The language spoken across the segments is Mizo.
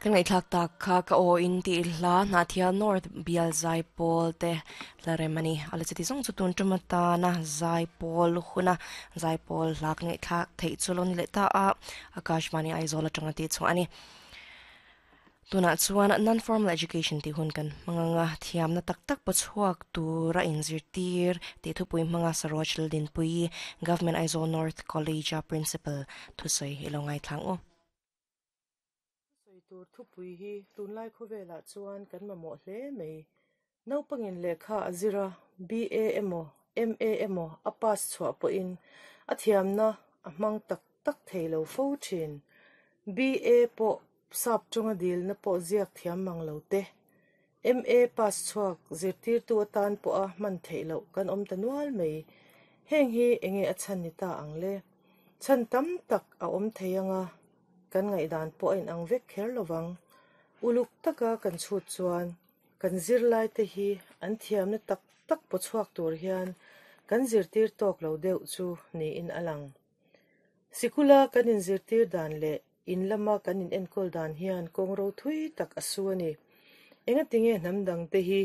Kan ngaihthlak tak kha ka aw in tih hla Hnahthial North bial zaipawl te hla rem a ni. A la chuti zawng chu tun tum atana zaipawl huna zaipawl hla kan ngaihthlak theih chu lo ni leh ta a, Akashvani Aizawl atanga tih chhuah a ni. Tunah chuan Non-Formal Education tih hun kan hmang ang a, thiamna tak tak paw chhuak tura inzirtir tih thupui hmanga Saroj Laldinpuii, Government Aizawl North College-a Principal thusawi i lo ngaithla ang u. Thusawi tur thupui hi tunlai khawvelah chuan kan mamawh hle mai. Naupangin lehkha a zir a, BA emaw, MA emaw a pass chhuah pawhin a thiamna a hmang tak tak thei lo fo thin. BA pawh sap tawnga dilna pawh ziak thiam mang lo te, MA pass chhuak zirtirtu atan pawha hman theih loh kan awm ta nual mai. Heng hi enge a chhan ni ta ang le? Chhan tam tak a awm thei anga kan ngaihdan pawh a inang vek kher lovang. Uluk taka kan chhut chuan kan zirlaite hi an thiamna tak tak paw chhuak tur hian kan zirtir tawk lo deuh chu niin a lang. Sikula kan inzirtir dan leh in lama kan inenkawl dan hian kawng ro thui tak a su a ni. Engatinge hnam dangte hi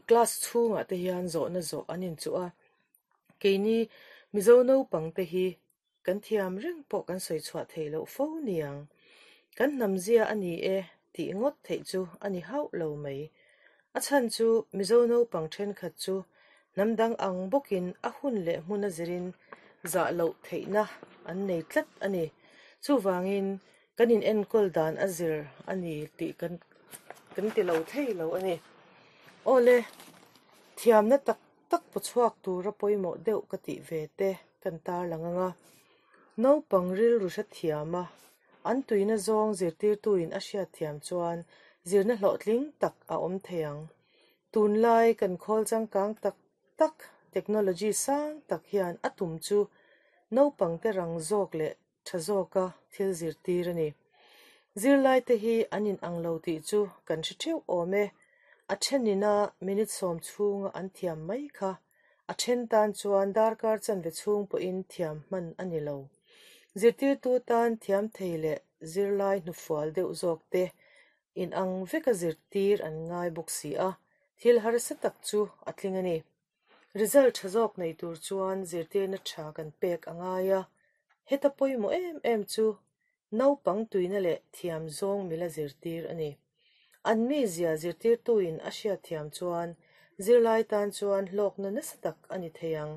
class chhungah te hian zawhna zawh an inchuh a, keini Mizo naupangte hi Kan thiam reng pawh kan sawi chhuah thei loh fo niang. Kan hnamzia a ni e tih ngawt theih chu a ni hauh lo mai. A chhan chu Mizo naupang thenkhat chu hnam dang ang bawkin a hun leh hmun a zirin zah loh theihna an nei tlat a ni. Chuvangin kan inenkawl dan a zir a ni tih kan kan ti lo thei lo a ni. Awle, thiamna tak tak paw chhuak tura pawimawh deuh ka tih ve te kan tarlang ang a, naupang rilru hrethiam a, an tuina zawng zirtirtuin a hriatthiam chuan zirna hlawhtling tak a awm thei ang. Tunlai kan khawl changkang tak tak, technology sang tak hian a tum chu naupangte rang zawk leh tha zawka thil zirtir a ni. Zirlaite hi an inang lo tih chu kan hre theuh awm e. A thenina minute sawm chhunga an thiam mai kha a then tan chuan darkar chanve chhung pawhin thiam hman a ni lo. Zirtirtu tan thiam thei leh zirlai hnufual deuh zawk te inang veka zirtir an ngai bawk si a, thil harsa tak chu a tling a ni. Result tha zawk nei tur chuan zirtirna tha kan pek a ngai a, heta pawimawh em em chu naupang tuina leh thiam zawng mila zirtir a ni. An mizia zirtirtuin a hriatthiam chuan zirlai tan chuan hlawkna nasa tak a ni thei ang.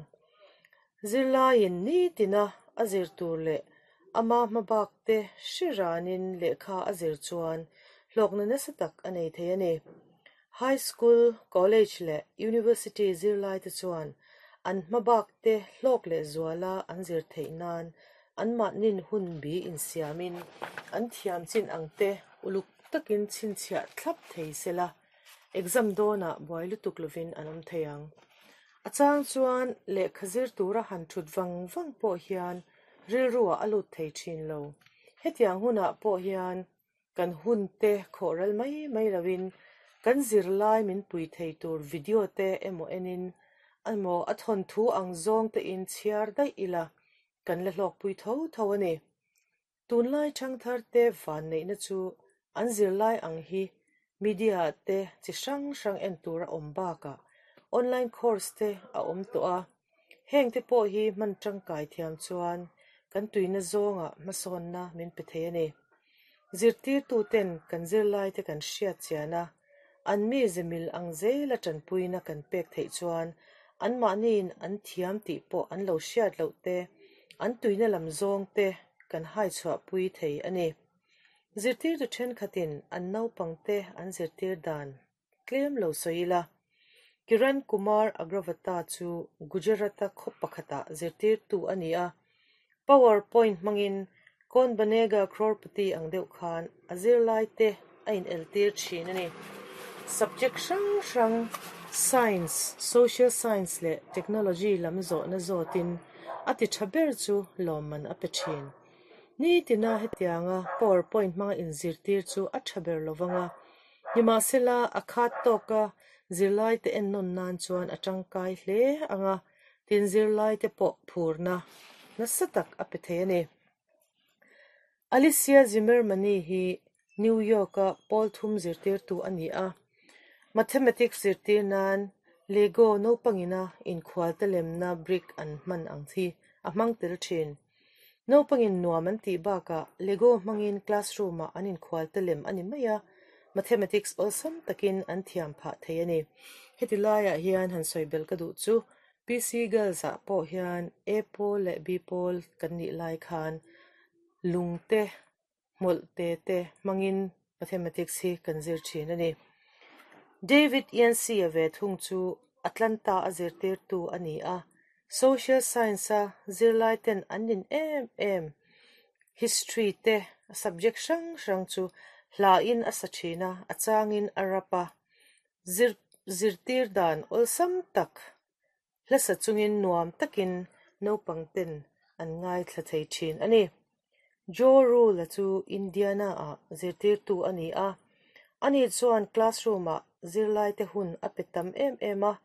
Zirlaiin nitina a zir tur leh ama hmabak te hre ranin lehkha a zir chuan hlawkna nasa tak a nei thei a ni. High School, College leh University zirlaite chuan an hmabak te hlawk leh zuala an zir theih nan anmahnin hun bi insiamin an thiam chin ang te uluk takin chhinchhiah thlap thei sela, exam dawnah buai lutuk lovin an awm thei ang. A chang chuan lehkha zir tura han thut vang vang pawh hian rilruah a lut thei thin lo. Hetiang hunah pawh hian Kan hun te khawh ral mai mai loin kan zirlai min pui thei tur video te emaw enin emaw a thawnthu ang zawng te in chhiar daih ila kan la hlawkpui tho tho a ni. Tunlai thangthar te vanneihna chu an zirlai ang hi media te chi hrang hrang en tur a awm bakah online course te a awm tawh a, heng te pawh hi hman tangkai thiam chuan kan tuina zawngah hmasawnna min pe thei a ni. Zirtirtuten kan zirlaite kan hriat chian a, an mi zemil ang zela tanpuina kan pek theih chuan anmahniin an thiam tih pawh an lo hriat loh te, an tuina lam zawng te kan hai chhuahpui thei a ni. Zirtirtu thenkhatin an naupangte an zirtir dan tlem lo sawi ila, Kiran Kumar Agravata chu Gujarat-a khaw pakhatah zirtirtu a ni a, Power point hmangin Kaun Banega Crorepati ang deuh khan a zirlaite a ineltir thin a ni. Subject hrang hrang Science, Social Science leh Technology lam zawhna zawtin a ti tha ber chu lawmman a pe thin. Nitina hetianga power point hmanga inzirtir chu a tha ber lovang a, Nimahsela, a khat tawka zirlaite ennawn nan chuan a tangkai hle ang a, tin zirlaite pawh phurna nasa tak a pe thei a ni. Alicia Zimmermanni hi New York-a pawl thum zirtirtu a ni a. Mathematics zirtir nan Lego naupangina inkhualte lemna brick an hman ang hi a hmang tel thin. Naupangin nuam an tih bakah Lego hmangin classroom-ah an inkhualte lem a ni mai a, mathematics awlsam takin an thiam phah thei a ni. Heti laiah hian han sawi belh ka duh chu PC Girls-ah pawh hian A pawl leh B pawl kan nih lai khan lungte hmawlh te te hmangin mathematics hi kan zir thin a ni. David Yancey-a ve thung chu Atlanta a zirtirtu a ni a, social science-a zirlai ten an nin em em history te subject hrang hrang chu hlain a sa thin a, a changin a rap a, zir zirtir dan awlsam tak Hlasa chungin nuam takin naupang ten an ngaithla thei thin a ni. Joe Rule-a chu Indiana-ah zirtirtu a ni a, ani chuan classroom-ah zirlaite hun a pe tam em em a,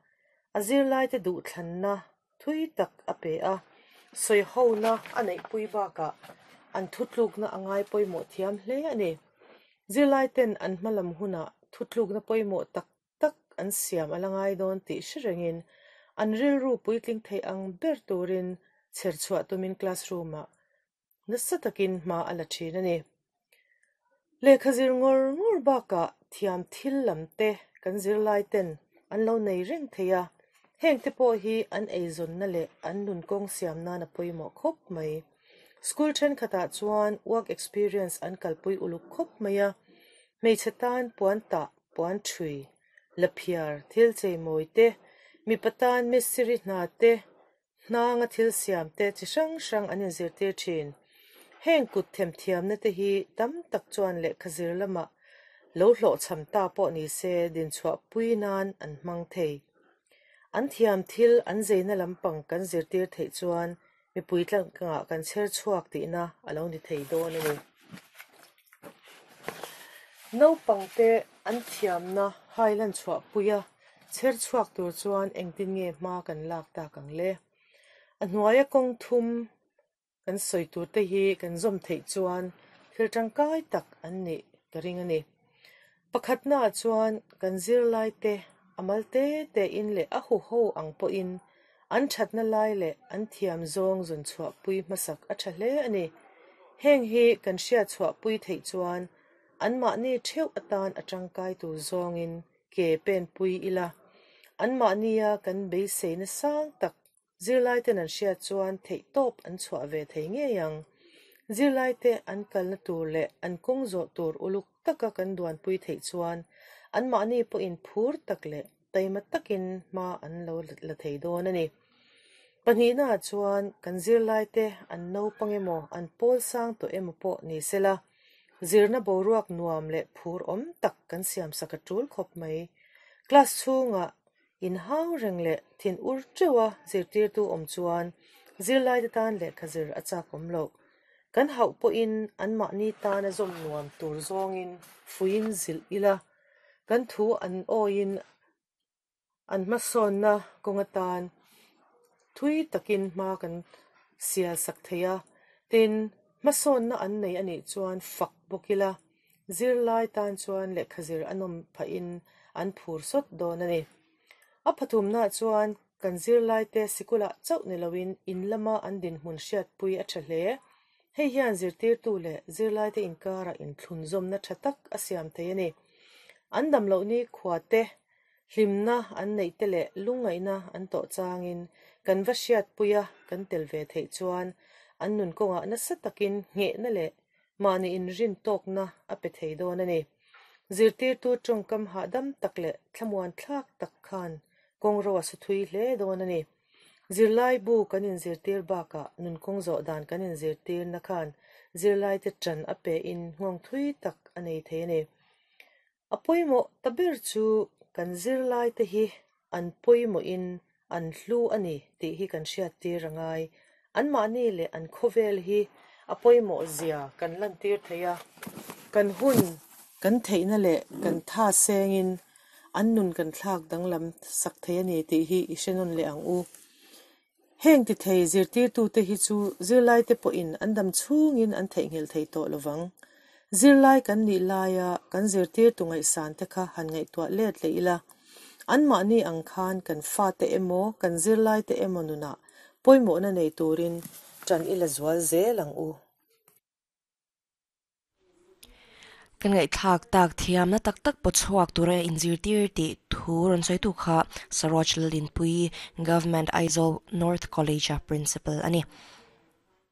a zirlaite duhthlanna thui tak a pe a, sawihona a neihpui bakah an thutlukna a ngai pawimawh thiam hle a ni. Zirlaiten an hmalam hunah thutlukna pawimawh tak tak an siam a la ngai dawn tih hre rengin an rilru puitling thei ang ber turin chher chhuah tumin classroom-ah nasa takin hma a la thin a ni. Lehkha zir ngawr ngawr bakah thiam thil lam te kan zirlai ten an lo nei reng thei a, heng te pawh hi an eizawnna leh an nun kawng siam nan a pawimawh khawp mai. School thenkhatah chuan work experience an kalpui uluk khawp mai a, hmeichhe tan puan tah puan thui, laphiar, thil cheimawi te, mipa tan mistiri hna te, hnanga thil siam te chi hrang hrang an inzirtir thin. Heng kut themthiamna te hi tam tak chuan lehkha zir lamah lo hlawhchham ta pawh ni se dinchhuahpui nan an hmang thei. An thiam thil an zeina lampang kan zirtir theih chuan mipui tlangah kan chher chhuak tihna a lo ni thei dawn a ni. Naupangte an thiamna hailan chhuahpuia chher chhuak tur chuan engtin nge hma kan lak tak ang le? A hnuaia kawng thum kan sawi turte hi kan zawm theih chuan thil tangkai tak an nih ka ring a ni. Pakhatnaah chuan kan zirlaite a mal te tein leh a huho ang pawhin an thatna lai leh an thiam zawng zawn chhuahpui hmasak a tha hle a ni. Heng hi kan hriat chhuahpui theih chuan anmahni theuh atan a tangkai tur zawngin ke penpui ila, anmahnia kan beiseina sang tak Zirlaiten an hriat chuan theihtawp an chhuah ve thei ngei ang. Zirlaite an kalna tur leh an kawng zawh tur uluk taka kan duanpui theih chuan anmahni pawhin phur tak leh taima takin hma an lo la thei dawn a ni. Pahnihnaah chuan kan zirlaite an naupang emaw an pawl sang tawh emaw pawh ni sela, zirna boruak nuam leh phur awm tak kan siamsak a tul khawp mai. Class chhungah Inhau reng leh thin ur teuha zirtirtu awm chuan zirlaite tan lehkha zir a chak awm loh. Kan hauh pawhin anmahni tana zawm nuam tur zawngin fuiin zilh ila, kan thu an awiin an hmasawnna kawng atan thui takin hma kan sial sak thei a, tin, hmasawnna an nei a nih chuan fak bawk ila. Zirlai tan chuan lehkha zir a nawm phahin an phur sawt dawn a ni. A pathumnaah chuan kan zirlaite sikulah chauh ni loin in lama an dinhmun hriatpui a tha hle. Hei hian zirtirtu leh zirlaite inkarah inthlunzawmna tha tak a siam thei a ni. An damloh ni khuate hlimna an neih te leh lungngaihna an tawh changin kan va hriatpui a kan tel ve theih chuan an nun kawngah nasa takin nghehna leh Mahni inrin tawkna a pe thei dawn a ni. Zirtirtu tawngkam hahdam tak leh thlamuan thlak tak khan kawngro a su thui hle dawn a ni. Zirlai bu kan inzirtir bakah nunkawng zawh dan kan inzirtirna khan zirlaite ṭan a pein nghawng thui tak a nei thei a ni. A pawimawh ta ber chu kan zirlaite hi an pawimawhin an hlu a ni tih hi kan hriattir a ngai. Anmahni leh an khawvel hi a pawimawh zia kan lantir thei a, kan hun kan theihna leh kan tha sengin an nun kan thlak danglam sak thei a ni tih hi i hre nawn leh ang u. Heng ti thei zirtirtute hi chu zirlaite pawhin an dam chhungin an theihnghilh thei tawh lovang. Zirlai kan nih laia kan zirtirtu ngaihsan te kha han ngaihtuah let leh ila, anmahni ang khan kan fate emaw kan zirlaite emaw nunah pawimawhna nei turin ṭan i la zual zel ang u. Kan ngaihthlak tak thiamna tak tak pawchhuak tura inzirtir tih thu rawn sawitu kha Saroj Lalinpui, Government Aizawl North College-a Principal a ni.